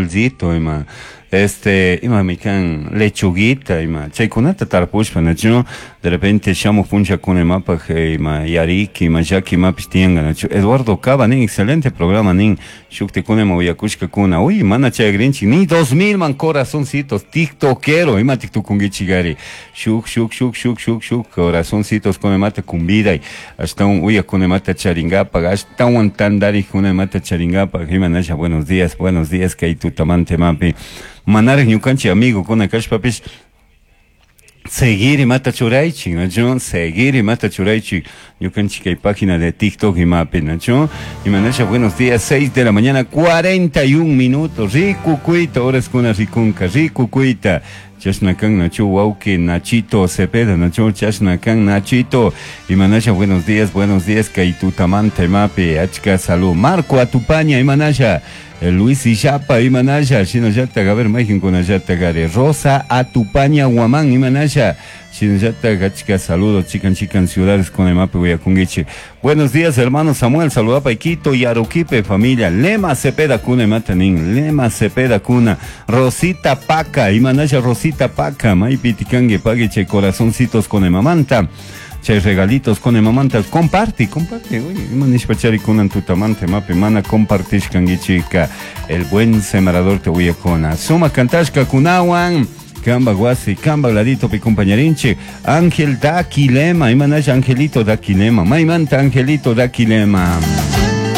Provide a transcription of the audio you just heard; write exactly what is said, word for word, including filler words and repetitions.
Dulcito ima este imami kan lechuguita ima chaykunata tarpushpa, nachu? De repente shamuj punllakuna imapaj ima yariki ima llaki imapish tiyanka, nachu? Eduardo Cava nin: "Excelente programa", nin. Shuktikuna ima uyakushkakuna. Uy, mana chayagrinchik ni dos mil man corazoncitos. Tiktokero, imatik tukunkichikari? Shuk, shuk, shuk, shuk, shuk, shuk corazoncitos kuna imata kumbiday ashtawan uyakuna imata charinkapak, ashtawan tantarikuna imata charinkapak. Imanasha, buenos días, buenos días. Kay tutamanta imapi manarik ñukanchik amigokuna kashpapish, seguir imata churaychik, nachu? Seguir imata churaychik ñukanchik kay página de TikTok imapi, nachu? Imanasha, buenos días. seis de la mañana cuarenta y un minutos. Rikukuyta horaskuna rikunka, rikukuyta chashna kan, nachu? Wawki Nachito Cepeda, nachu? Chashna kan, Nachito. Imanasha, buenos días, buenos días. Kay tutamanta imapi achka salud. Marco Atupaña, imanasha? Luis Illapa, imanasha? Shinallatak, a ver, mayqinkunallata gari? Rosa Atupaña Guamán, imanasha? Shinallatak achka saludos chikan chikan ciudades con imapi uyakunkichik. Buenos días, hermano Samuel, saludapa Quito y Aruquipe, familia Lema Cepeda kuna imata nin, Lema Cepeda kuna. Rosita Paca, imanasha, Rosita Paca? Maypi tikanki, pagui chay corazoncitos con imamanta, chay regalitos con imamanta. Comparte, comparte. Uy, ima nishpachari kunan tutamanta imapi mana compartishkankichika? El Buen Sembrador te uyakuna suma kantashka kunawan. Kamba wasi, kamba ladito pi compañarinchik. Ángel Daquilema, imanasha, Angelito Daquilema? Maymanta, Angelito Daquilema?